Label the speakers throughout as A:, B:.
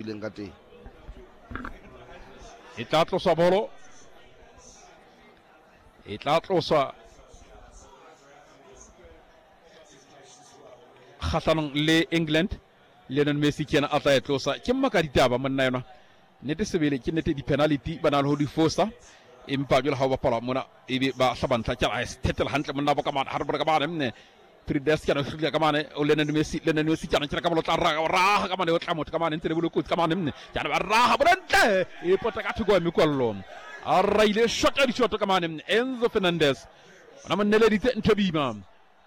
A: Ileng ka teng.
B: E tla tloswa bolo, e tla tloswa kgahlanong le England. Lionel Messi ke yena a tla e tlosa. Ke mmaka ditaba monna yona, nnete sebele ke nnete, di-penalty ba na le ho di fosa, empa jwale ha o bapala mona ebe ba hlaba ntlha ke a thetela hantle monna bo ka mane ha re bone ka mane nne Prides ke ana hlutla ka mane o Lionel Messi, Lionel Messi ke ana kena ka bolo tla raha raha ka mane o tla motho ka mane ntse le bolo kotsi ka mane nne ke ana ba raha bolo ntle e pota ka thoko ya mekwallo a raile shot ya dishoto ka mane. Enzo Fernandez ona mo neleditse ntho bima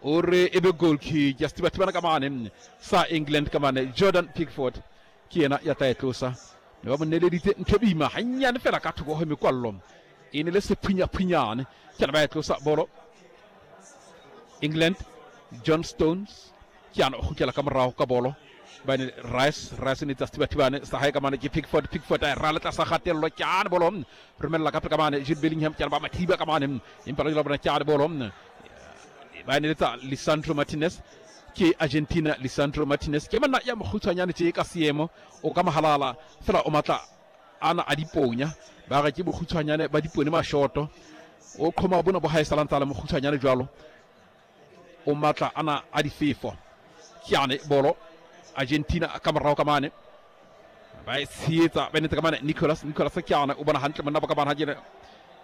B: o re e be goal kick ya sethibathibana ka mane sa England ka mane. Jordan Pickford ke yena ya tla e tlosa, ne ba mo neleditse ntho boima gannyane fela ka thoko go mekwallo, e ne le sephunyaphunyane ke ana ba e tlosa bolo England. John Stones ke ana o kgutlela ka morago ka bolo bane Rice, Rice ne tsa sethibathibane sa hae ka mane ke Pickford, Pickford a e rale tlasa kgatello ke ane bolo romella ka pele ka mane Jude Bellingham ke ana ba mathiba ka mane, empa la bona ke ane bolo ba neletsa Lisandro Martinez ke Argentina. Lisandro Martinez ke monna ya mokgutshwanyane tje ka seemo, o ka mohalala fela o matla ana a diponya, ba re ke bokgutshwanyane ba dipone mashoto, o qhoma bona bo hae salantsa le mokgutshwanyane jwalo, o matla ana a difefo. Ke ane bolo Argentina ka morao ka mane ba e tsheetsa ba netse ka mane Nicolas, Nicolas ke ane o bona hantle monna ba ka mane ha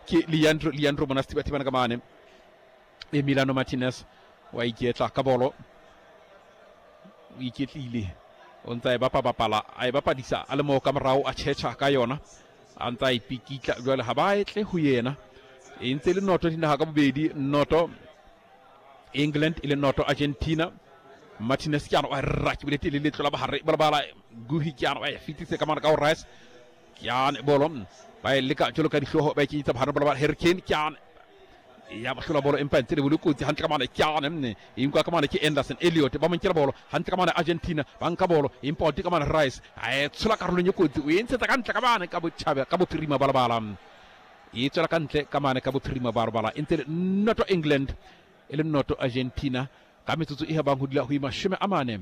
B: ke Leandro, Leandro bona sethibathibana ka mane Emiliano Martinez wa iketla ka bolo, o iketlile o ntse a e bapa-bapala a e bapadisa a le moo ka morao a tšhetšha ka yona a ntse a ipikitla jwale ha ba etle ho yena. E ntse le noto dinaga ka bobedi, noto England e le noto Argentina. Martinez ke ana wa rra ke bolete le letlo la bahare balabala Guhi ke ana wa e fetise ka mane ka ho Rice ke ane bolo ba e leka jwalo ka dihlooho ba e kenyetsa bohare balabala Harry Kane ke ane ya ba hlola bolo empa ntse le bolo kotsi hantle ka mane ke ane nne e nkwa ka mane ke Anderson Elliot ba mo nkela bolo hantle ka mane Argentina ba nka bolo empa o ka mane Rice a e tshola karolong e kotsi o e ntshetsa ka ntle ka mane ka botjhabe ka bophirima balabala e tswela ka ntle ka mane ka bophirima balabala e ntse le noto England e le noto Argentina ka metsotso e habang ho dula ho ima 40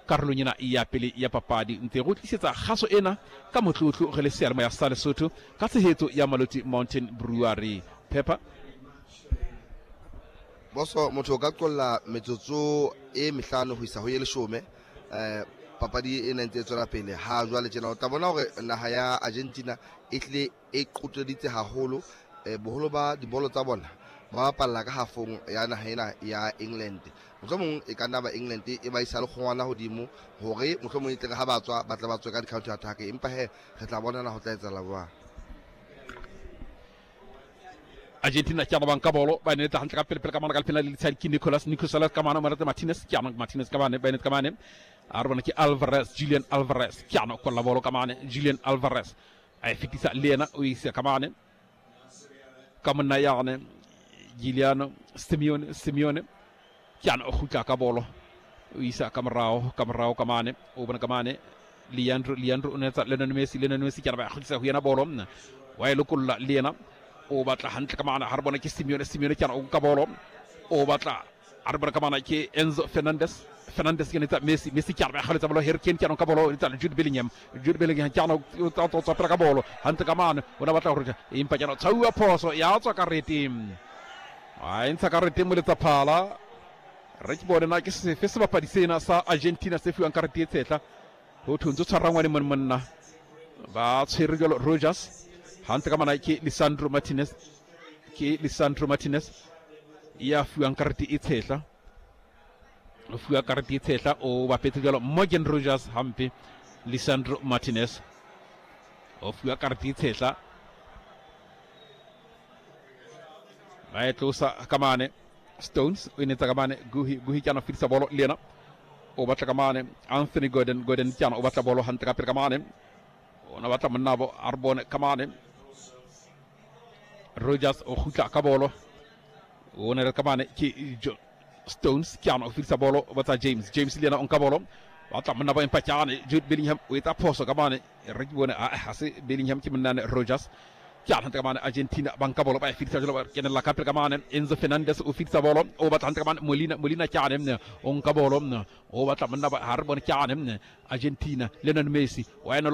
B: karolong ena ya pele ya papadi. Ntse go tlisetsa kgaso ena ka motlotlo re le seyalemoya sa Lesotho ka tshehetso ya Maloti Mountain Brewery. Pepper.
A: Boso motho o ka qolla metsotso e mehlano ho isa ho ye leshome, papadi e ntse e tswela pele ha jwale tjena o tla bona hore naha ya Argentina e tlile e qoteditse haholo, boholo ba dibolo tsa bona ba bapalla ka hafong ya naha ena ya England. Mohlomong e ka nna ba England e ba isa le kgongwana hodimo hore mohlomong e tle ha ba tswa ba tla ba tswe ka di-counter attack, empa he re tla bonana ho tla etsahala jwang.
B: Argentina ke ana ba nka bolo ba neta hantle ka pele pele ka mane ka lefela le letshadi ke Nicolas, Nicolas ka mane Marate Martinez ke ana Martinez ka mane ba neta ka mane a re bona ke Alvarez, Julian Alvarez ke ana kolla bolo ka mane Julian Alvarez a e fetisa le yena o isa ka mane ka monna yane Giuliano Simeone, Simeone ke ana o kgutla ka bolo o isa ka morao ka morao ka mane o bona ka mane Leandro, Leandro o netsa Lionel Messi, Lionel Messi ke ana ba kgutlisa ho yena bolo wa e lokolla le yena o batla hantle ka mane ha re bona ke Simeone, Simeone ke ana o nka bolo o batla a re bona ka mane ke Enzo Fernandez, Fernandez ke netsa Messi, Messi ke ana ba kgaletsa bolo Harry Kane ke ana ka bolo netsa Jude Bellingham, Jude Bellingham ke ana o tswa pela ka bolo hantle ka mane o na batla hore empa ke ana tshauwa phoso ya tswa karete a e ntsha karete moletsa phala re ke bone na ke sefe sebapadi sena sa Argentina se fiwang karete e tshetla ho thwe ntse tshwara ngwane mone monna ba tshwere jalo Rogers hantle ka mana ke Lisandro Martinez, ke Lisandro Martinez ya fiwang karete e tshetla o fiwa karete e tshetla o bapetse jalo Morgan Rogers hampe Lisandro Martinez o fiwa karete e tshetla ba e tlosa ka mane Stones o e netsa ka mane Guhi, Guhi ke ana fetisa bolo le yena o batla ka mane Anthony Gordon, Gordon ke ana o batla bolo hantle ka pele ka mane o na batla monna bo a re bone ka mane Rogers o kgutla ka bolo o ne re ka mane ke Stones ke ana o fetisa bolo o batla James, James le yena o nka bolo batla monna bo empa ke ane Jude Bellingham o etsa phoso ka mane re ke bone a ha se Bellingham ke monna Rogers ke ana hantle ka mane Argentina ba nka bolo ba e fetisa jalo ba kenella ka pele ka mane Enzo Fernandez o fetisa bolo o batla hantle ka mane Molina, Molina ke ane o nka bolo o batla monna ba ha re bone ke ane Argentina Lionel Messi wa ena